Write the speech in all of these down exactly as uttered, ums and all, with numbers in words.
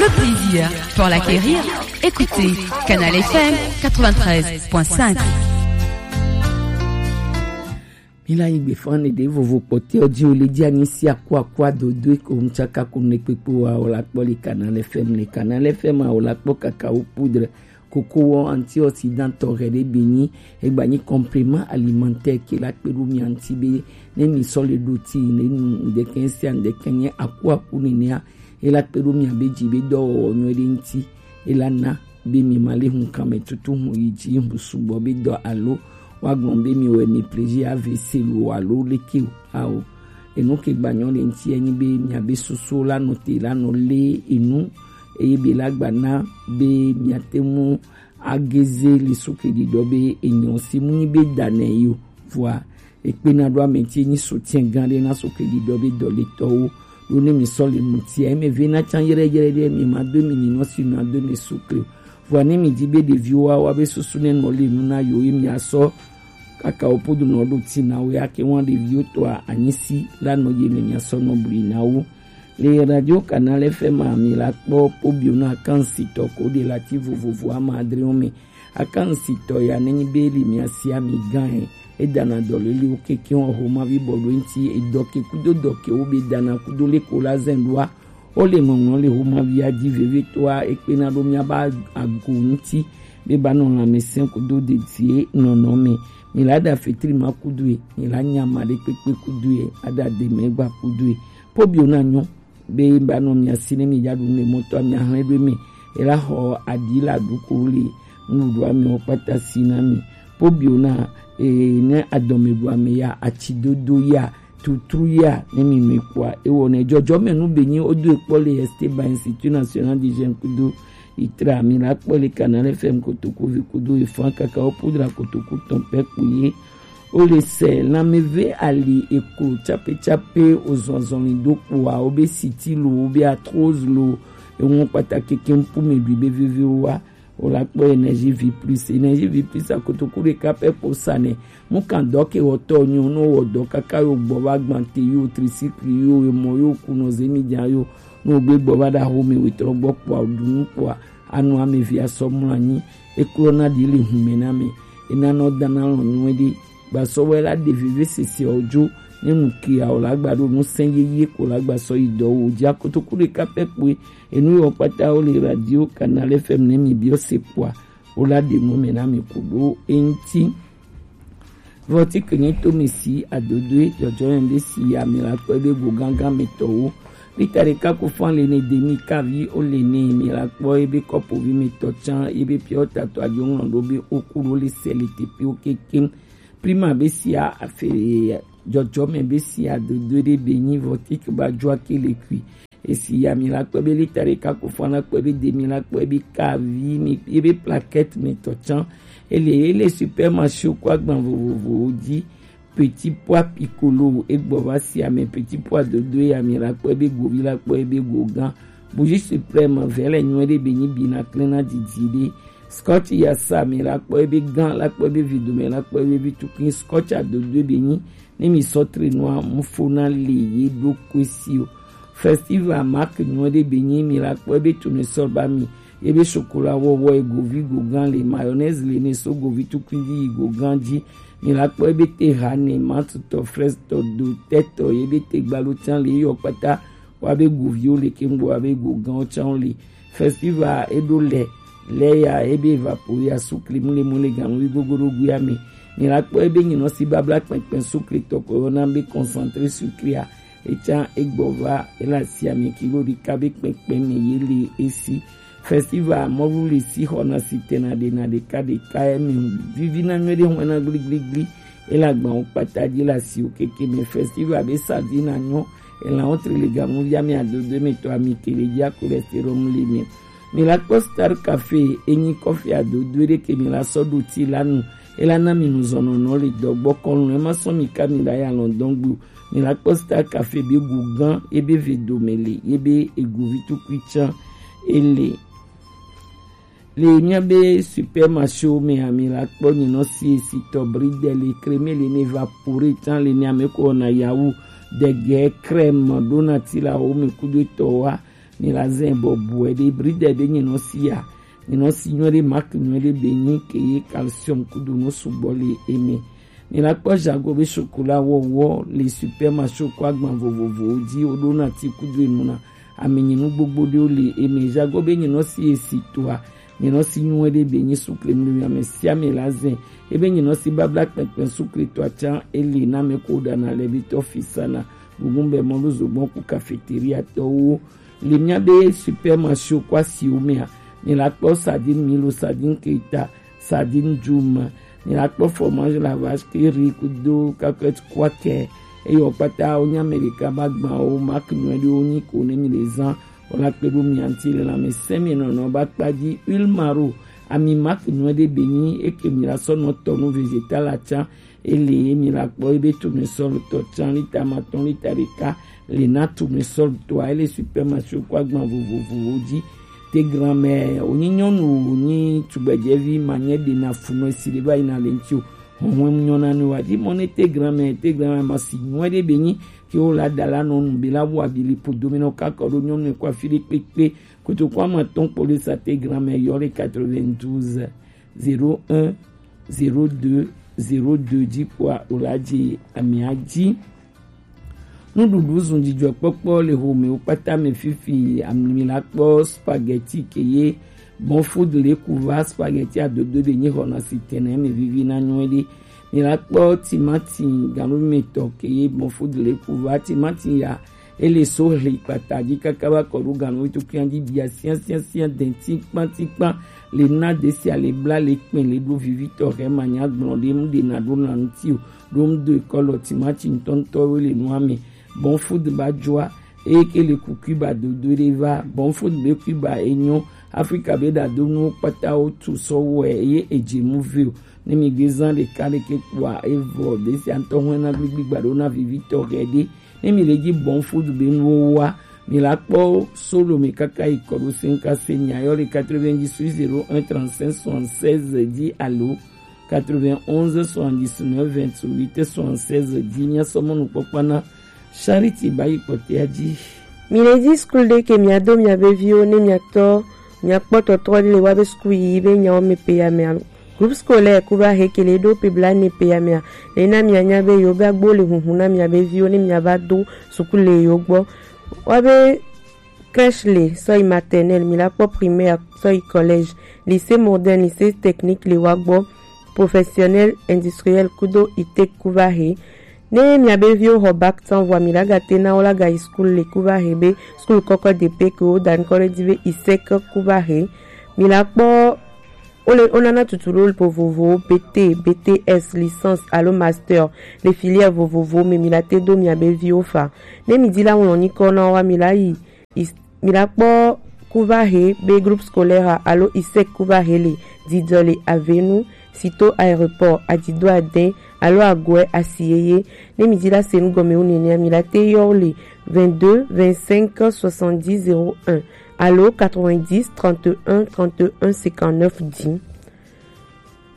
Le plaisir pour l'acquérir, écoutez Canal F M quatre-vingt-treize point cinq. Mila yi gbe fan ne de vovo kpɔtɛ ɔdi o le di anyi si akua akua dodo eko ŋtsaka ko ne kpekpe wa o la kpɔ le Canal F M, le Canal F M a o la kpɔ kakao poudre koko wɔ antioxydant tɔxɛ ɖe be nyi egba nyi complément alimentaire ke la kpe ɖo mia ŋuti be ne mi sɔ le ɖo ti ne nu ŋdɛkɛ sia ŋdɛkɛ nye aku aku nenea e la kpe ɖo mia be dzi be dɔwɔwɔ nyuie ɖe ŋuti e la na be mi ma le hun kan me tutu hun yi dzi hun sugbɔ be dɔ alo wa gblɔ be mi wɛ mi pleji A V C lo alo leke o ao. Enu ke gba nyɔ le ŋuti enyi be mia be susu la nɔ te la nɔ le enu eye be la gba na be mia te mu ageze le sukedi dɔ be enyɔ si mu nyi be da nɛ yi o. Vɔa ekpena ɖo ame ti nyi soutien gã ɖe na sukedi dɔ be dɔletɔwo ɖo ne mi sɔ le mutia eme ve na can yɛrɛ yɛrɛ ɖe mi ma do mi ni nɔ si nɔ do mi sukli o. Vɔa ne mi di be ɖeviwo wa wa be susu ne nɔ le nu na yo ye mi asɔ kaka wo podo nɔ ɖo ti na wo ya ke wan ɖeviwo tɔa anyisi la nɔ ye me mi asɔ nɔ bli na wo. Le Radio Canal F M a mi la kpɔ pobio na akansitɔ ko de la ti vovovo ama adre wo me. Akansitɔ ya ne nyi be li mi asi ami gan e. E dana dɔ le li wo keke wo ho ma vi bɔ ɖo ŋuti e dɔ ke kudo dɔ ke wo be dana kudo le ko la zɛn ɖoa. Wo le ŋɔŋlɔ le ho ma vi a di veve toa e kpe na ɖo mia ba ago ŋuti be ba nɔ lãmesẽ kudo dedie nɔnɔ me. Mi la da fetri ma kudo e, mi la nya ma ɖe kpekpe kudo e, ada de mɛ gba kudo e. Pobio na nyɔ be ba nɔ mia si ne mi ya ɖu ne mɔtɔ mia hlɛ ɖo me. E la xɔ aɖi la ɖu ko le nuɖuɖu amewo kpata si na mi. Pobio na e ne adɔme ɖu ame ya, atsi dodo ya, tutru ya ne mi nui kpɔa ewɔ ne dzɔdzɔme nu be nyi wodo ekpɔ le Esteban Institut National des Jeunes kudo itra mi la kpɔ le Canal F M kotoku vi kudo efan kaka wo pudra kotoku tɔn pɛ kpo ye. Wo le sɛ lanmeve ali eklo tsape tsape ozɔzɔli do kpoa wo be siti lo wo be arthrose lo eŋu kpata keke ŋku me ɖui be veve wa. Wo la kpɔ Energie Vie Plus. Energie Vie Plus a kotoku ɖeka pɛ kpo sa nɛ. Mu kan dɔ ke wɔtɔ nyo no wɔ dɔ kaka yo gbɔ va gbante yo tricycle yo emɔ yo kunɔ zemi jan yo no gbe gbɔ va ɖa xome wetrɔ gbɔ kpoa ɖu nu kpoa anu ame vi asɔ mlɔ anyi. Eklɔ na ɖi le hume na me. Ena nɔ dana lɔ nyuie ɖe. Gbasɔ wɛ la ɖe veve sese ɔ dzo ne nu ke a o la gba ɖo nu sɛn yeye ko la gbasɔ yi dɔ wo dzi akotoku ɖeka pɛ kpoe. Enu yɔ kpata wo le radio Canal F M ne mi biɔ se kpoa wo la ɖe nu me na mi ku ɖo eŋti. Vɔti ke nye to mi si adodoe dzɔdzɔ yɛn be si ya mi la kpɔ ebe go gangan me tɔwo. Lita ɖeka ko fan le ne demi kavi o le ne mi la kpɔ ebe kɔpo vi me tɔ tsan ebe piɔ tato adzo ŋlɔ ɖo be o ku ɖo le sɛ le tepe o kekem. Prima be sia afe dzɔdzɔme be sia dodo ɖe be nyi vɔtik ba dzɔ ake le kui. Esi ya mi la kpɔ be lita ɖeka ko fan la kpɔ be de mi la kpɔ be kavi mi ebe plaquette me tɔ tsan. Ele ele supermarché ko agban vovovowo dzi. Petit pois piccolo egbɔ va si ame petit pois dodo ya mi la kpɔ ebe govi la kpɔ ebe go gã. Bougie suprême vɛ le nyuie ɖe be nyi bi na klẽ na didi ɖe. Scotch ya sa mi la kpɔ ebe gã la kpɔ ebe vi dome la kpɔ ebe vi tukui scotch adodo ebe nyi. Ne mi sɔ tre nua mu fo na le ye ɖo koe si o. Festival mark nyuie ɖe be nyi mi la kpɔ ebe tune sɔ ba mi. Ebe chocolat wɔwɔ e govi go gã le mayonnaise le ne so govi tukui dzi yi go gã dzi. Mi la kpɔ ebe te ha ne mantutɔ frestɔ do tɛtɔ ye be te gbalo tsan le yɔ kpata wa be goviwo le kengbo wa be go gãwo tsan le. Festival eɖo lɛ lɛ ya ebe evapo ya sukli mu le mu le ganu wi gogo ɖo gui ame. Mi la kpɔ ebe nyinɔ si babla kpɛnkpɛn sukli tɔ ko yɔna be concentré sucré a. Etsa egbɔ va ela si ame kilo ɖeka be kpɛkpɛ me ye le esi. Festival mɔlu le si xɔna si tena ɖe na ɖeka ɖeka emi vivi na nyuie ɖe hɔn na gligligli ela gbawo kpata dzi la si o keke me festival be sa vi na nyɔ ela wo tri le gamu via mi adodo me to ami kele dzi a cholestérol le mi. Mi la kpɔ Star Café enyi kɔfi adodo ɖe ke mi la sɔ ɖo ti la nu ela na mi nu zɔnɔnɔ le dɔgbɔ kɔnu ema sɔ mi ka mi la ya lɔndɔn gbo. Mi la kpɔ Star Café be gu gã ebe ve dome le ebe egu vi tukui tsan ele. Le mia be supermarché wo me a mi la kpɔ nyinɔ si esi tɔ bridel crème le ne va pore tsan le ne ame ko na yawu dege crème ɖona ti la wo me kudo tɔ wa. Mi la zɛn bɔ buɛ ɖe bridɛ be nyinɔ si ya. Nyinɔ si nyuɛ ɖe, marque nyuɛ ɖe be nyi ke ye calcium kudo nu sugbɔ le eme. Mi la kpɔ Jago be chocolat wɔwɔ le supermarché ko agban vovovowo ji, wo ɖo na ti kudo enu na ami nyinu gbogbo ɖewo le eme. Jago be nyinɔ si esi toa, nyinɔ si nyuɛ ɖe be nyi sukle mli ame sia ame la zɛn. Ebe nyinɔ si babla kpɛnkpɛn sukle toa can ele na me ko ɖana le bi tɔ fisana. Gugun bɛ mɔlu zogbɔn ku cafeteria tɔwo. Le mia be supermarché ko asiwo mea, mi la kpɔ sardine milo, sardine keta, sardine djuma, mi la kpɔ fromage la vache qui rit kudo cacahuète kwakɛ. Eyɔ kpata wo nya me ɖeka ba gban wo marque nyuɛ ɖe wo nyi ko ne mi le zan. Wo la kpe ɖo mi anti le la me sɛ mi nɔnɔ ba kpa di huile maro. Ami marque nyuɛ ɖe be nyi eke mi la sɔ nɔ tɔ nu végétal la can. Ele ye mi la kpɔ ebe tournesol tɔ can lita matɔn lita ɖeka le na tournesol tɔa ele supermarché ko agban vovovowo ji. Te granmɛ wonyi nyɔnu wonyi tugbɛjɛvi ma nyɛ ɖe na funɔ esi ɖe va yi na le ŋuti o. Hɔnhɔn nyɔ na nu wa di mɔ ne te granmɛ te granmɛ ma si nyuɛ ɖe be nyi ke wo la da la nɔ nu be la wo abi li po domi nɔ kakɔ ɖo nyɔnu ko afi ɖe kpekpe. Kotoku ama tɔn kpɔ ɖe sa te granmɛ yɔ le quatre-vingt-douze zéro un zéro deux zéro deux ji kpoa o la ji amia ji. Nuɖuɖu zun dzidzɔkpɔkpɔ le homewo kpata me fifi. Ami la kpɔ spaghetti ke ye bon food le kuva spaghetti adodo de nyi xɔna si tɛnɛ me vivi na nyuɛ ɖe. Mi la kpɔ timati ganumetɔ ke ye bon food le kuva timati ya ele so hli kpata ji kaka va kɔ ɖo ganumetɔ kian ji bia sian sian sian dɛn tikpan tikpan le na de sia le bla le kpɛn le ɖo vivitɔ hɛ ma nya gblɔ ɖe mu ɖe na ɖo na ŋuti o ɖo mu do ekɔlɔ timati ŋutɔŋutɔwo le nua me. Bon food ba joa eye ke le ku Cuba dodo ɖe va. Bon food be Cuba enyo Afrika be ɖadonuwo kpata wo tu sɔ wɔe eye edze mu vi o. Ne mi gbe zan ɖeka ɖeke kpoa evɔ ɖe sia ŋutɔ hɔn na gbigbi gba ɖo na vivitɔ hɛ ɖe. Ne mi le ji bon food be nuwo wa mi la kpɔ solo mi kaka yi kɔ ɖo se ŋka se mi ayɔ le quatre-vingt-dix-huit zéro un trente-cinq soixante-seize ji alo quatre-vingt-onze soixante-dix-neuf vingt-huit soixante-seize ji. Mia sɔ mɔnukpɔkpɔ na Charity ba yi kpɔtɛa ji. Mi le ji skul ɖe ke mia do mia be viwo ne mia tɔ mia kpɔ tɔtrɔ ɖe le wa be skul yi be nyawo me pe ya mea. Groupe scolaire ku va he ke le ɖo pe bla ne pe ya mea. Le na mia nya be yo be agbo le hunhun na mia be viwo ne mia va do sukulu le yo gbɔ. Wa be crèche le sɔ yi maternelle, mi la kpɔ primaire sɔ yi collège, lycée moderne, lycée technique le wa gbɔ, professionnel, industriel kudo ITEC ku va he. Ne mia be viwo xɔ bac tɔn vɔa mi la ga te na wo la ga yi skul le ku va he be skul kɔkɔ de pe ke wo da ŋkɔ ɖe ji be ISEC ku va he. Mi la kpɔ wo le wo nana tutu ɖo vovovowo B T, B T S, licence alo master le filière vovovo me mi la te do mia be viwo fa. Ne mi di la ŋlɔ nyikɔ na wo wa mi la yi Is- mi la kpɔ ku va he be groupe scolaire alo ISEC ku va he le didɔ le avenu sito aéroport adido adin alo agoɛ asi yeye. Ne mi di la se nu gɔme wu nenea mi la te yɔ wo le vingt-deux vingt-cinq soixante-dix zéro un alo quatre-vingt-dix trente et un trente et un cinquante-neuf dix.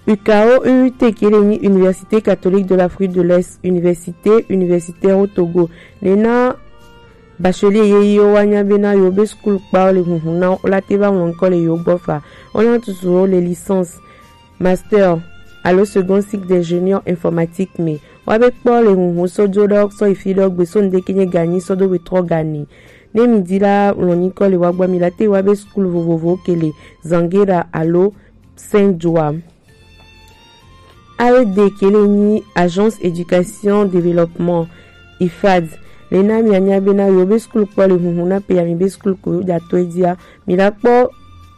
U K O U U T ke le nyi Université catholique de l'Afrique de l'Est, université universitaire au Togo. Le na bachelier ye yi wo wa nya be na yo be skul kpa wo le hunhun na wo la te va ŋlɔ ŋkɔ le yo gbɔ fa. Wo na tutu wo le licence, master alo second cycle d'ingénieur informatique me. Wa be kpɔ le hunhun sɔ jo ɖɔ sɔ yi fi ɖɔ gbe sɔ nu de ke nye ganyi sɔ do we trɔ gani. Ne mi di la ŋlɔ nyikɔ le wa gbɔ mi la te wa be skul vovovo ke le Zangera alo Saint Joa. A E D ke le nyi Agence Éducation Développement, IFAD. Le na mi anya be na yo be skul kpɔ le hunhun na pe ya mi be skul ko da to e dia. Mi la kpɔ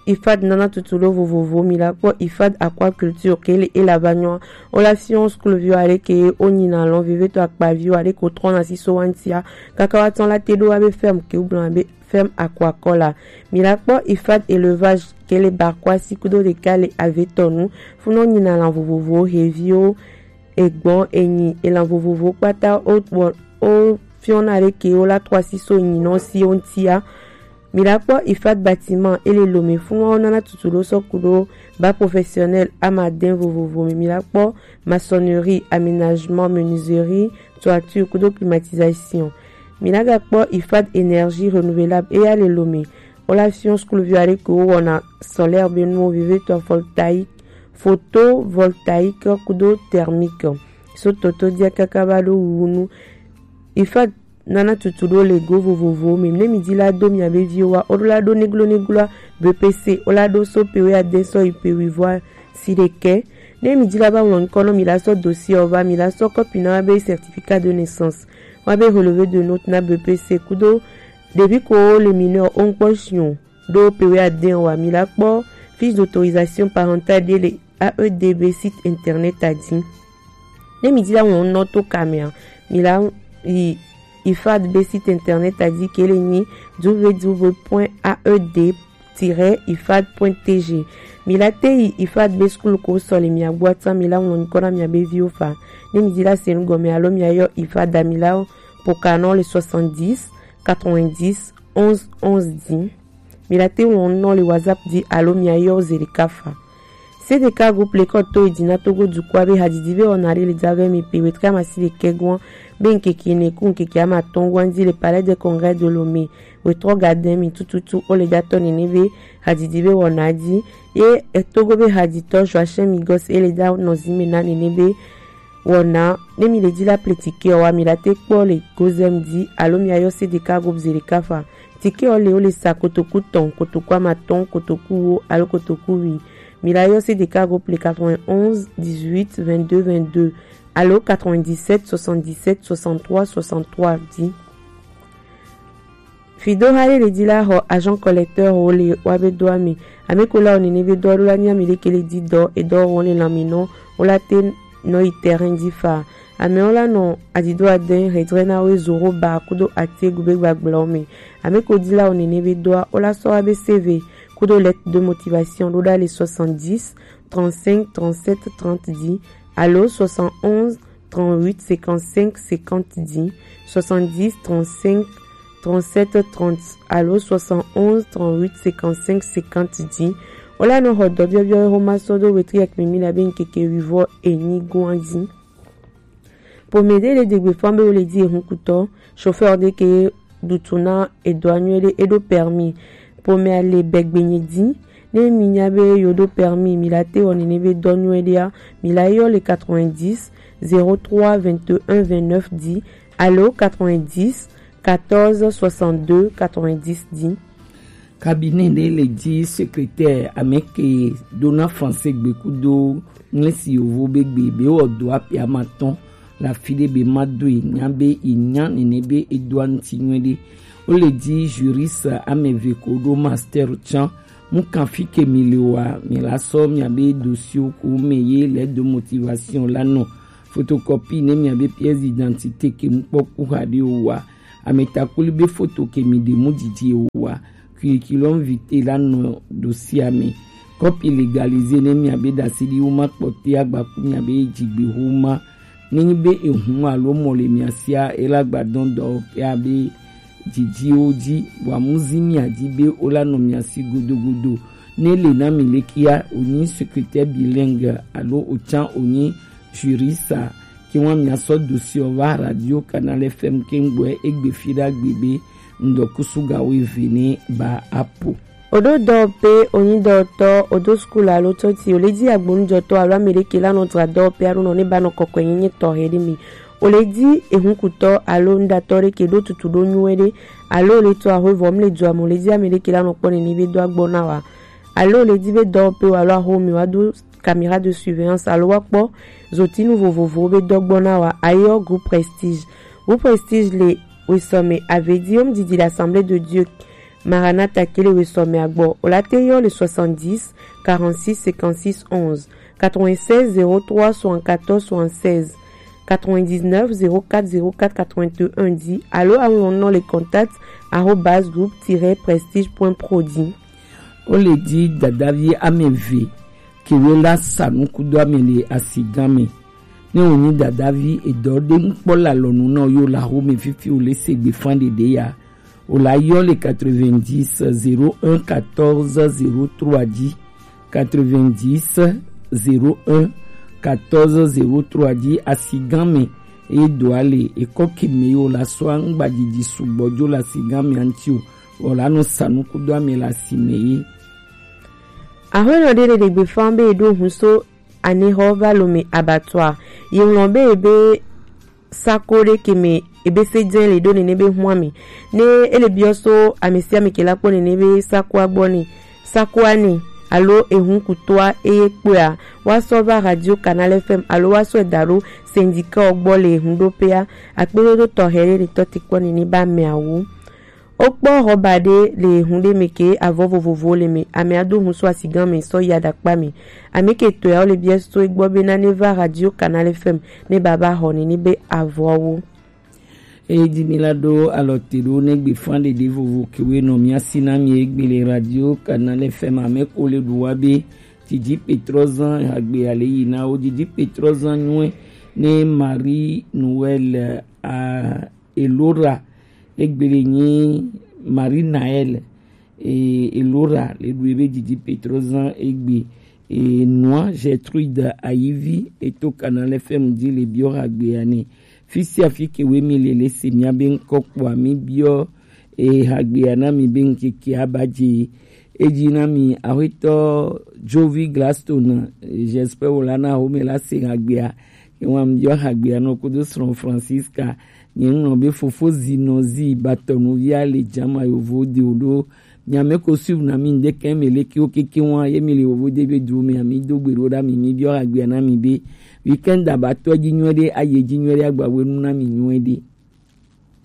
IFAD nana tutu ɖo vovovo, mi la kpɔ IFAD aquaculture ke le e la va nyɔ. O la fiɔ skul viwo ale ke o nyi na lɔn veve to akpa viwo ale ko trɔ na si so wa ŋtia. Kaka wa tɔn la te ɖo wa be ferme ke o gblɔ be ferme aquacole la. Mi la kpɔ IFAD élevage ke le Barkwasi kudo ɖeka le Avetɔnu. Funɔ nyina lan vovovowo, heviwo, egbɔn, enyi, elan vovovowo kpata o bɔ o fiɔna ɖe ke o la trɔ asi so nyinɔ si o ŋtia. Mi la kpɔ IFAD bâtiment e le Lomé, funɔ wo nana tutu ɖo sɔ kudo bac professionnel amadin vovovo me. Mi la kpɔ maçonnerie, aménagement, menuiserie, toiture kudo climatisation. Mi la gakpɔ IFAD énergie renouvelable eya le Lomé. Wo la fiɔ sukluvi aɖe ke wo wɔna solaire be nuwo vevietɔ, voltaïque, photovoltaïque kudo thermique. So toto dia kaka va ɖo wuwu nu. IFAD nana tutu ɖo le go vovovowo me. Ne mi di la do miabe viwo wa, wo ɖo la ɖo neglo negloa B P C, wo la ɖo so pe wuiade sɔ yi pe wuivoa si ɖekɛ. Ne mi di la va ŋlɔ ŋkɔ nɔ mi la sɔ dossier ɔ va, mi la sɔ kɔpi na wa be certificat de naissance, wa be relevé de note na B P C kudo ɖevi ko le mineur wo ŋkpɔ si o ɖo pe wuiade ɔ wa, mi la kpɔ fiche d'autorisation parentale ɖe le A E D be site internet a di. Ne mi di la ŋlɔ nɔ to ka mea, mi la yi IFAD be site internet a di ke le nyi w w w point A E D tiret ifad point T G. Mi la te yi IFAD be suklu ko sɔ le mia gbɔ atan mi la ŋlɔ ŋkɔ na miabe viwo fa. Ne mi di la se nu gɔme alo mia yɔ IFAD a mi la po ka nɔ le soixante-dix quatre-vingt-dix onze onze di. Mi la te ŋlɔ nɔ le WhatsApp di alo mia yɔ ze ɖeka fa. C D K groupe le kɔ to yi di na Togo dukɔa be hadidi be wɔna ɖe le da vɛ mi pe wetre amasi ɖekɛ gɔn be ŋkeke ne ku ŋkeke amatɔn gɔn di le Palais de Congrès de Lomé. Wetrɔ gadin mi tututu wo le datɔ nene be hadidi be wɔna di ye etogo be haditɔ Joachim Migos e le da nɔzi me na nene be wɔna ne mi le di la ple tike ɔ wa mi la te kpɔ le gozem di alo mi ayɔ C D K groupe zerika fa. Tike ɔ le wo le sa kotoku tɔn, kotoku amatɔn, kotoku wo alo kotoku wi. Mi la yɔ C D K groupe le quatre-vingt-onze dix-huit vingt-deux vingt-deux alo quatre-vingt-dix-sept soixante-dix-sept soixante-trois soixante-trois di. Fido ha ɖe le di la xɔ agent collecteur wo le wa be dɔ ame. Ame ko la wo nene be dɔ ɖo la nya mi ɖe ke le di dɔ edɔ wo le lan mi nɔ wo la te nɔ yi terrain di fa. Amewo la nɔ adido adɛn hedre na wo zoro ba kudo atiegu be gbagblɔ me. Ame ko di la wo nene be dɔa wo la sɔ wa be C V kudo lettre de motivation ɖo ɖa le soixante-dix trente-cinq trente-sept trente di alo soixante-onze trente-huit cinquante-cinq cinquante di, soixante-dix trente-cinq trente-sept trente alo soixante-onze trente-huit cinquante-cinq cinquante di. Wo la nɔ xɔ dɔ biɔbiɔ xoma sɔ do wetri akpimi la be ŋkeke wivɔ enyi goa di. Pome ɖe le degbe fam be wo le di ehunkutɔ, chauffeur ɖe ke ɖutu na edɔa nyuie ɖe eɖo permis. Pomea le bɛgbenye di. Ne mi nya be yo ɖo permis, mi la te wɔ nene be dɔ nyuie ɖea, mi la yɔ le quatre-vingt-dix zéro trois vingt et un vingt-neuf di alo quatre-vingt-dix quatorze soixante-deux quatre-vingt-dix di. Cabinet ɖe le di secrétaire ame ke ɖo na français gbe kudo ŋlesi yovo be gbe be wɔ do api amatɔn le afi ɖe be ma do yi nya be yi nya nene be edoa ŋuti nyuie ɖe. Wo le di juriste ame eve ko ɖo master tsã. Mu kan fi ke mi le wa mi la sɔ miabe dossier ko me ye lettre de motivation la nɔ photocopie ne miabe pièce d'identité ke mu kpɔ ku xa ɖe o wa. Ametakpoli be foto ke mi ɖe mu didi o wa. Curriculum vitae la nɔ dossier me. Copie légalisée ne miabe ɖasi ɖi wo ma kpɔte agbaku miabe dzigbe xoma. Nenyi be ehun alo mɔ le mia sia ela gba dɔn dɔwɔƒea be didiwo dzi, vɔa mu zi mia dzi be wola nɔ mia si godogodo. Ne le na mi lekia, wonyi secrétaire bilingue alo wotsan wonyi juriste, ke wa mia sɔ dossier va Radio Canal F M ke ŋgbɔe egbe fi ɖa gbe be ŋdɔkusu ga wo eve ne ba apo. Oɖo dɔwɔƒe, onyi dɔwɔtɔ, odo sukulu alo tsɔtsi, ole dzi agbonujɔtɔ alo ame ɖe ke la nɔ dzra dɔwɔƒe alo nɔ ne ba nɔ kɔkɔe nyenye tɔxɛ ɖe mi. Ole dzi ehunkutɔ alo nuɖatɔ ɖe ke ɖo tutu ɖo nyuie ɖe alo ole tɔ axwe vɔ mle dua me, ole dzi ame ɖe ke la nɔ kpɔ nene be do agbɔ na wa. Alo ole dzi be dɔwɔƒe wa alo axome wa do caméra de surveillance alo wa kpɔ zotinu vovovowo be dɔgbɔ na wa, ayɔ groupe Prestige. Groupe Prestige le wesɔme ave di wo mu didi le Assemblée de Dieu Maranatha ke le wesɔme agbɔ. Wo la te yɔ le soixante-dix quarante-six cinquante-six onze, quatre-vingt-seize zéro trois soixante-quatorze soixante-seize, quatre-vingt-dix-neuf zéro quatre zéro quatre quatre-vingt-un di alo aŋlɔ nɔ le contact arobase groupe tiret prestige point pro di. Wo le di dadavi ame eve ke wo la sa nukudo ame le asigan me. Ne wonyi dadavi edɔ ɖe ŋkpɔ le alɔnu na wo yo la xome fifi wo le se gbe fan ɖeɖe ya. Wo la yɔ le quatre-vingt-dix zéro un quatorze zéro trois di. Quatre-vingt-dix zéro un quatorze zéro trois di asigan me. Ye do ale, ekɔ ke me yo la sɔ angba didi sugbɔ jo la si gan mi anti o, o la no sanu kudo ame la si me ye. Ahuenɔ ɖe ɖe ɖe gbefa be eɖo hun so anexɔ va lo me abattoir. Ye ŋlɔ be ebe sako ɖe ke me ebe se dze le ɖo nene be hua mi. Ne ele biɔ so ame sia ame ke la kpɔ nene be sakoa gbɔ ne, sakoa ne, alo ehun kutoa eye kpɔa, wa sɔ va Radio Canal F M alo wa sɔ da ɖo syndicat gbɔ le ehun ɖo pea, akpedodo tɔxɛ ɖe le tɔ ti kpɔ nene ba mea wu. Wokpɔ xɔba ɖe le hun ɖe me ke avɔ vovovowo le me. Ame ado hun so asigan me sɔ yi aɖakpa me. Ame ke tɔe wo le biɛ so egbɔ be na ne va Radio Canal F M ne baba xɔ ni ni be avɔwo. Eye dzi mi la ɖo alɔ te ɖo ne gbe fan ɖeɖe vovo ke we nɔ mia si na mi egbe le Radio Canal F M ame ko le ɖu wa be didi petrɔ zan agbe ale yi na wo didi petrɔ zan nyuɛ ne Marie Noël a Elora, egbe le nyi Marie Naël, e, Elora le ɖu ebe didi petrɔ zan egbe, e, nua Gertrude Ayivi eto Canal F M di le biɔ hagbe ane. Fisia fi ke we mi le le se mia be ŋkɔ kpɔa mi biɔ, e, hagbe ana mi be ŋkeke aba dze. Edzi na mi, Aƒetɔ Jovi Gladstone, j'espère wòla na home la se hagbea. Ke wa mi yɔ hagbea nɔ kudo srɔ̃ Francisca. Nye ŋlɔ be fofo zi nɔ zi batɔnuvia le jama yovo de o ɖo. Nyame ko suivre na mi ŋdeke me le kiwo keke wa ye mi le yovo de be du me ami do gbe ɖo ɖa mi mi biɔ hagbea na mi be weekend abatɔ dzi nyuie ɖe aye dzi nyuie ɖe agbawe nu na mi nyuie ɖe.